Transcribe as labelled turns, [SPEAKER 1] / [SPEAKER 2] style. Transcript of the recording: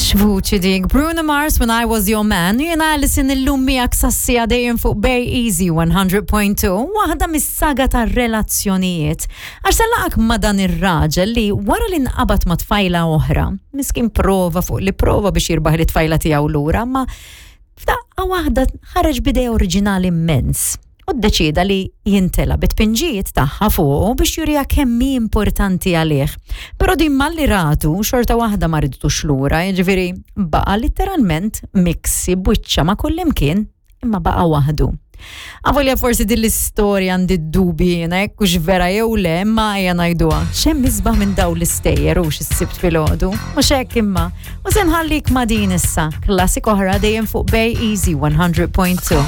[SPEAKER 1] X'vuċi dik. Bruno Mars When I Was Your Man. Jiena Alison illum miegħek sassija dejjem fuq Bay Easy 100.2, waħda mis-saga tar-relazzjonijiet. Għax se laqak ma' dan ir-raġel li wara li nqabad ma' tfajla oħra, miskin prova fuq li prova biex jirbaħ li tfajla tiegħu lura, ma f'daqqa waħda ħareġ b'idea oriġinali immens u ddeċieda li jintela bit-tpinġijiet tagħha fuqu biex juriha kemm hi importanti għalih. Però din malli ratu xorta waħda ma ridtux lura, jiġifieri baqa' litteralment miksi b'wiċċha ma' kullimkien imma baqa' waħdu. Avolja forsi din l-istorja għandi d-dubi jiena jekk hux vera jew le, imma ejja ngħiduha. X'hemm isbaħ minn dawn l-istejjer hux is-Sibt filgħodu? Mhux hekk imma. U se nħallik ma' din issa, klassik oħra dejjem fuq Bay Easy 100.2.